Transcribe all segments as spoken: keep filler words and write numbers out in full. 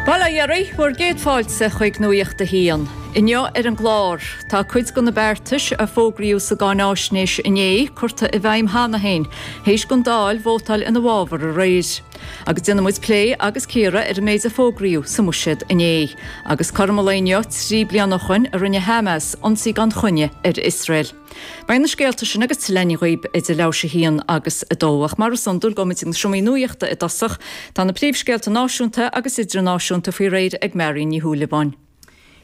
Bail ó Dhia oraibh, bhur gcéad fáilte chuig Nuacht a hAon. Inniu ar an gclár, tá cuid de na beartais a fógraíodh sa gcáináisnéis inné curtha i bhfeidhm cheana féin, théis don Dáil vótáil ina bhfabhar aréir. Agus déanfaidh muid plé agus cíoradh ar an méid a fógraíodh sa mbuiséad inné. Agus cothrom an lae inniu trí bliana ó shin a rinne Hamas ionsaí gan choinne ar Iosrael. Beidh na scéalta sin agus tuilleadh againn daoibh idir leathuair théis a haon agus a dó ach mar is iondúil gabhfaimid chuig na seomraí nuachta i dtosach, tá na príomhscéalta náisiúnta agus idirnáisiúnta faoi réir ag Marion Ní Shúilleabháin.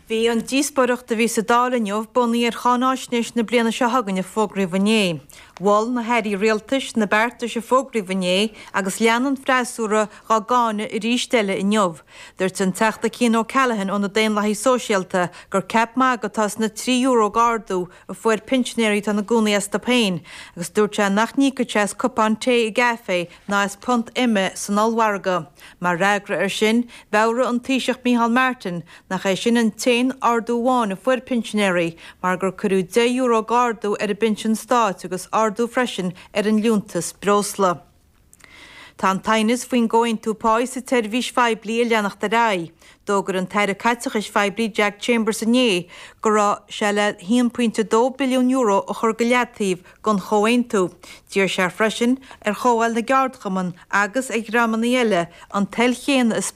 Bhí an díospóireacht a bhí sa Dáil inniu bunaithe ar cháináisnéis na bliana seo chugainn a fógraíodh inné. Mhol na hairí rialtais na beartais a fógraíodh inné agus lean an freasúra á gcáineadh arís eile inniu. Dúirt an Teachta Cian O'Callaghan ó na Daonlathaigh Sóisialta gur ceap magaidh atá sna trí euro d'ardú a fuair pinsinéirí atá ina gcónaí astu féin, agus dúirt sé nach n-íocfadh sé as cupán tae i gcaife ná as punt ime san ollmhargadh. Mar fhreagra air sin, mheabhraigh an Taoiseach Micheál Martin nach é sin an t-aon ardú amháin a fuair pinsinéirí mar gur cuireadh deich euro d'ardú ar an bpinsean stáit agus ardú freisin ar an liúntas breosla. Tá an t-aighneas faoin gcomhaontú pá sa tseirbhís phoiblí ag leanacht ar aghaidh. D'fhógair an tAire Caiteachais Phoiblí Jack Chambers inné go raibh sé le haon pointe dó billiún euro a chur go leataobh don chomhaontú. D'iarr sé freisin ar Chomhdháil na gCeardchumann agus ar dhreamanna eile an toil chéanna a